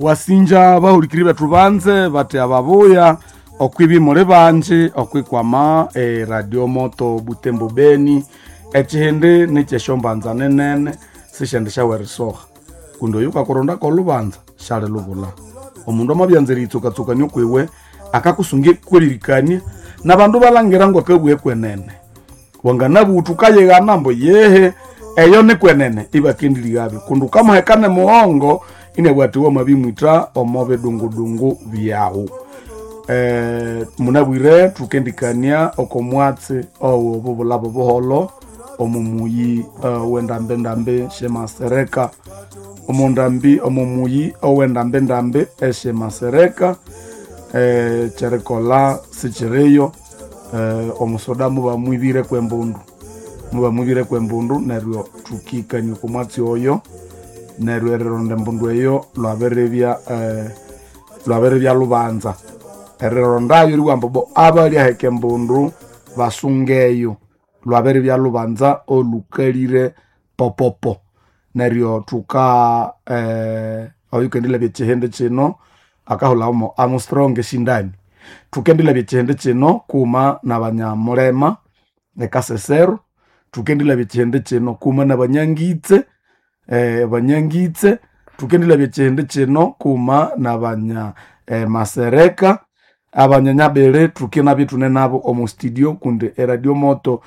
Wasinja bahulikiri bethu banze bati ababuya okwibi muli banji okwikwama eradio moto Butembo Beni ekihindi nikyeshyombanza ninene sishendi syawerisoha kundi oyu kakurondako olubanza syali lubula. Omundu amabyanza eriyitsukatsukania okwiwe akakusunga ekweririkania nabandu balangira ngwakabugha ekwenene. Wanganabuwa thukayighana ambu yehe eyo nikwenene ibakendilighabyo kundi wukamuheka nemughongo inabugha athi wamabimwitha omo bidungudungu byawu. Munabwire thukendikania oko mwatsi owo bubulabo buholho omo muyi owendambendambi syemasereka omondambi omo muyi owendambendambi esyemasereka kyerikolha sikyiriyo omusoda mubamwibire kwembundu mubamwibire kwembundu neryo thukikania oko mwatsi oyo neryo erironda embundu eyo lwabiribya lwabiribya lubanza. Erirondayo eribugha ambu bo abalyaheka embundu basungeyo lwabiribya lubanza olukalire popopo. Neryo thuka oyukendilabya ekyihindi kino akahulhamu Armstrong Shindani. Thukendilabya ekyihindi kino kuma nabanyamulema ekasesero, thukendilabya ekyihindi kino kuma nabanyangitse banyangitse, thukendilabya ekyihindi kino kuma nabanya masereka, abanyanyabiri thukinabya ithune nabo omo studio kundi eradio moto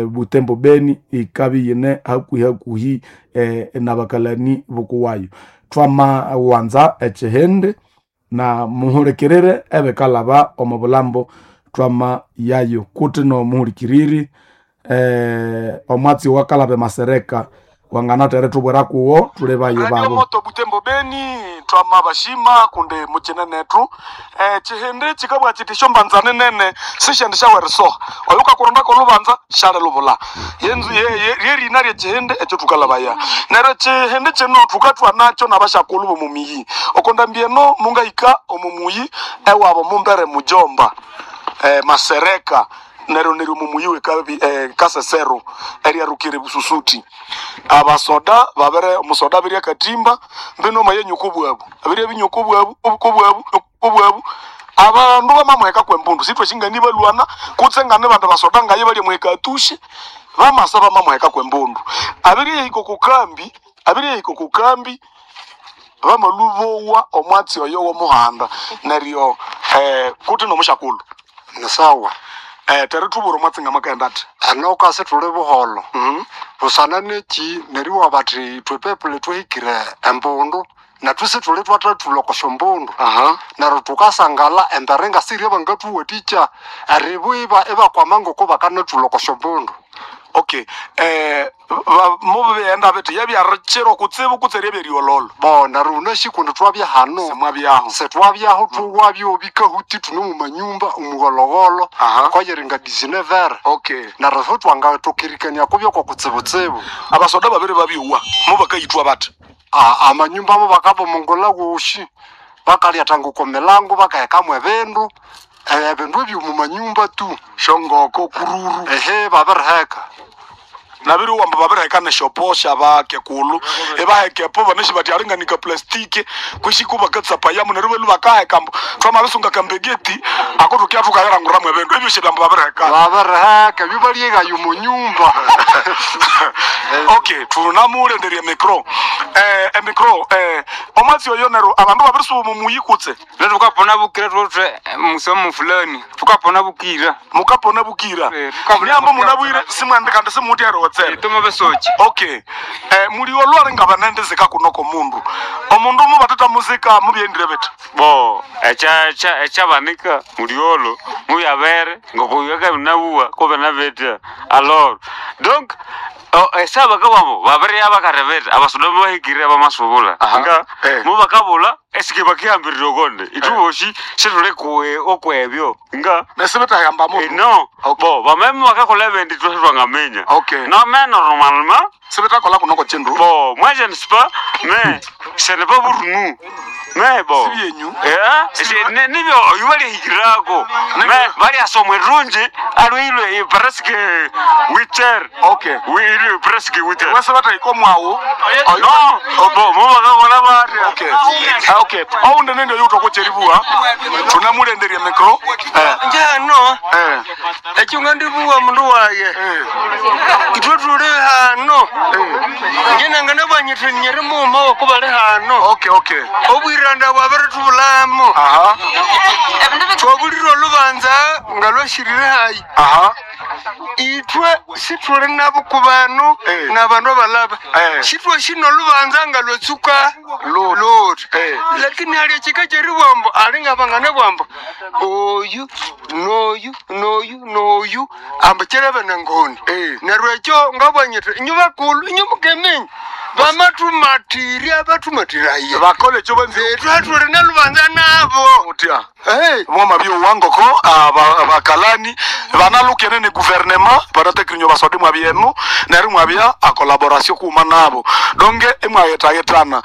Butembo Beni ikabya iyine hakuhi hakuhi nabakalani bukuwayo. Twamawanza ekyihindi na muhulikirire ebikalhaba omo bulhambo twama yayo. Kuthi nomuhulikiriri omwatsi owakalhaba emasereka wanganatha erithubwira kuwo thulibayo Radio babo. Moto Butembo Beni twama bashima kundi mukine nethu chihindi chikabwa chiti shombanza ninene sishendi shawerisoha oyo ukakurondako olubanza shali lubula yenzu lyerina lyechihindi ekyo thukalabaya neryo chihindi kino thukathwa nakyo nabashakulhu bomumiyi okondambi eno mungahika omumuyi ewabo mumbere mujomba masereka neryo neryo mumuyi wekabi kasesero eryarukire bususuti abasoda babere omusoda abirya katimba mbino mayenyuko bwabu abirya binyuko bwabu kubwabu kubwabu abandu bamamuheka kwembundu sithwe shingani balwana kutse ngane bandu basoda ngaye balya muheka atushe bamasa bamamuheka kwembundu abirya hiko kukambi abirya hiko kukambi bamalubowa omwatsi oyo womuhanda neryo kuti nomushakulu Ni sawa terithubura omwatsi ngamakenda athi eno kasi thuli buholho busana neki neriwa bathi ithwe people thuhikire embundu nethu sithuli twathathulha oko syombundu aha neryo thukasangala embere ngasirye bangathuwathikya eribu ibakwama ngoko bakanathulha oko syombundu okay mubighenda bithi yabyarikyiro kutsibu kutse ryabyeriololo bo neryo wunasi kundi twabya hano simwabyaho sithwabyaho thuwabyo bikahuti thune mumanyumba omugholhogholo Aha. koyiringa dizinevere okay neryo ithwe twangathokerikania kubyo kokutsibutsibu abasoda babiri babyowa mubakayithwa bathi amanyumba amo bakabomongolha woshi bakalyathanga oko milango bakahekamu ebindu ebindu ebyo mumanyumba tu shongoko kururu ehe babiriheka nabiri wamba babiriheka neshoposha bakekulu ibahekepo banesi bathi alinganika plastiki kwishiku bakatsapayamu neryo belu bakaheka mbu twamabisunga kambegeti ako thukia thukayiranguramu ebindu ebyo shibambu babiriheka babiriheka ebyo balyeghaya omunyumba okay thunamulenderya emikro emikro omwatsi oyo neryo abandu babirisuba mumuyi kutse Lero tukapona bukira thuthe musomo fulani tukapona bukira mukapona bukira Tukapona nyambo bukira. munabwire simwandi kandi simuthya tuma besoki okay muliwo lwali nga banendizika kuno komundu omundu mubatata muzika mubyendire bithi bo echabanika muliolo muyabere ngokuyaka binabuwa ko binabetya alors donc esaba kababo babere abakarebeta abasoda bahikire abamasubula Aha. nga Eh. mubakabula Esike bakihambirira okonde ithuboshi situli okwebyo nga Nesibitahamba Eh, no Okay. bo bameme bakakola ebindi ithwe sithwangaminya Okay. no mais normalement Sibitakola kunoko chindu. bon moi je ne sais pas mais ce n'est pas pour nous mais bon Sibyenyu. Eh, nibyo oyu balihikirako mais baliasoma erungi alwilwe presque 8 heures. Okay. Oui, presque 8 heures. Wese batahika omwawu. No, bo mo bakakola batya. Okay. Ah, okay. Oundi nende yutokocheribua tunamulenderie micro. Njano Eh. ekyo nga ndibuwa mundu waye itwe tuli hano njenanga nabanyithe nyeri muma wokubali hano. Okay, okay. Obwiranda bwabiritubulamo. Aha. Twabulire olubanza nga lwashirire hayi. Aha. Itwe situli nabo ku bandu Eh. nabandu abalaba. Eh. Shitwe shino olubanza nga lwetsuka Loti. loti. Eh. Lakini ali ekika kyeribwambo ali nga bangane bwambo oyu noyu noyu noyu ambo kyerebe nangoni. Eh. Neryo ekyo ngabwanyithe inyu bakulu inyu mukeminya bamatumatirya batumatiraye. Bakole ekyo benzi. Etwe tuli nalubanza nabo. Utya. Hey. Mwama byowangoko abakalani banalukene ni guvernema banatekirinyo basodi mwabyenu neri mwabya a collaboration kuma nabo donge imwayetayetana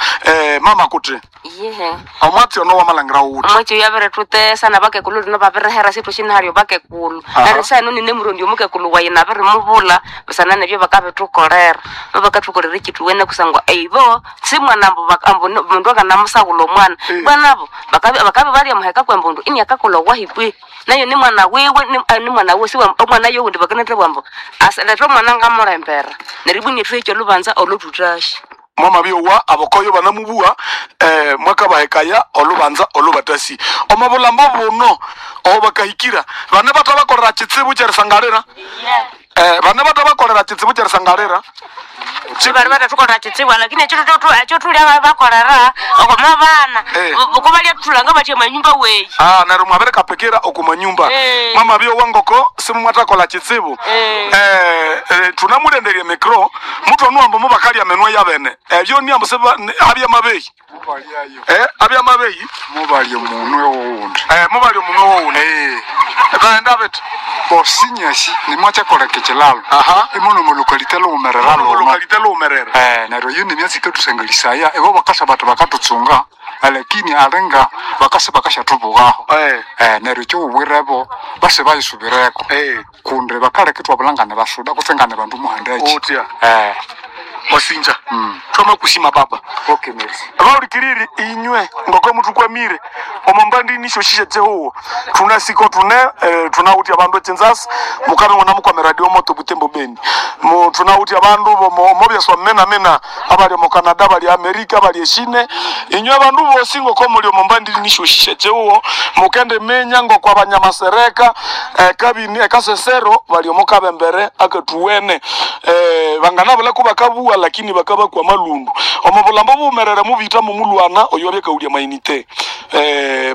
mama kuti Yehe. omwatsi ono wamalangira wuti. Omwatsi oyo abiritutesa nabakekulu lino babirihera situ shinaharyo bakekulu. Aha. Neryo sahenu nine murundi omukekulu wayi nabirimubula busana nebyo bakabithukolera babakathukolera ekithuwene kusangwa eibo simwana ambu ambu mundu akanamusaghulha omwana. Bwanabo bakabi balyamuheka kwembundu iniakakolha owahikwi nayo ni mwana wiwe ni mwana wiwe siwa omwana yowundi bakanathabwa ambu asilete omwana ngamulembera neryo ibwa inithuhikya olhubanza olhuthuthasya. Mwama byowa abokoyo banamubuwa mwakabahekaya olubanza olubatasi omobulhambo buno obakahikira bane batabakolera kitsibu kyerisangalira bane batabakolera kitsibu kyerisangalira. Bari batathukolera kitsibu lakini ekyo ekyo thulya bakolera okoma bana. Eh. Kubalya thulanga batya manyumba weyi. Ah, neryo mwabirikapikira oku manyumba. Eh. Mwama byowa ngoko simumwathakolha kitsibu. Eh. Tunamulenderye micro mutu onuwambo mubakalya menwe yabene ebyo niambo abyamabeyi. Mubalyayo. Abyamabeyi. Mubalya omunwe wowundi. Mubalya omunwe wowundi. Baghenda bethi. Bosinyasi nimwakyakoleka ekilalo. Aha. Imono mulukalite luwumerera luno. Olukalite luwumerera. Neryo iyo nimyatsi ikathusangalhisaya ibo bakasa bathi bakatutsunga lakini alinga bakasa bakasyathubughaho. Eh. Neryo ekyowubwirebo base bayisubireko. Eh. Kundi bakaleka ithwabulha ngane basuda kutse ngane bandu muhandaki. Utya. Wasinja. Twamakushima baba. Okay, merci. Baulikiriri inywe ngoko mutukwamire omo mbandi nisho shishe tsehuwo tunasiko tune tunawutya bandu echinzasi mukabe ngona mukwame radio moto Butembo Beni mu tunawutya bandu bomo mobyaswa mena mena abali omu Canada, abali America, abali eshine inywe bandu bosi ngoko muli omo mbandi nisho shishe tsehuwo mukende menya ngoko abanyamasereka kabini ekasesero bali omo kabembere akatuwene banganabula kubakabuwa lakini bakabakwa malundu omo bulambo bumerere mubita mumulwana oyo abyakaulya mainite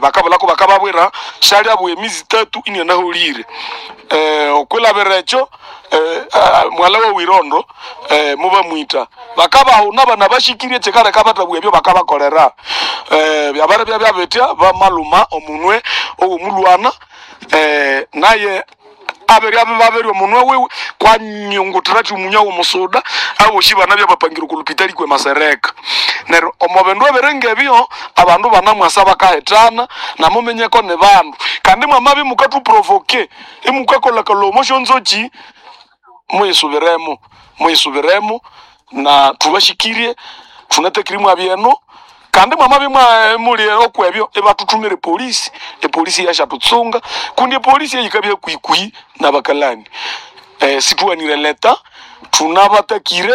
bakabulako bakababwira shali abwa emizi tatu inianahulire okwilabira ekyo mwala wa wirondo mubamwita bakabahuna bana bashikirie kyekaleka batabwa ebyo bakabakolera byabare bya byabetya bamaluma omunwe owomulwana naye aberi abe baberi omunwe wiwe kwanyungutira kyumunya womusuda aboshi bana byabapangire kulupitali kwe masereka neryo omo bindu ebiringa ebyo abandu banamwasa bakahethana namumenyeko ni bandu kandi mwamabi mukathuprovoke imukakolha kalomo syonzoki muyisubiremo muyisubiremo na thubashikirie thunatekire mwabyeno kandi mwamabi muli okwebyo ibathuthumire polisi epolisi yashatutsunga kundi epolisi eyikabya kwikwi nabakalani situwanire leta thunabatakire.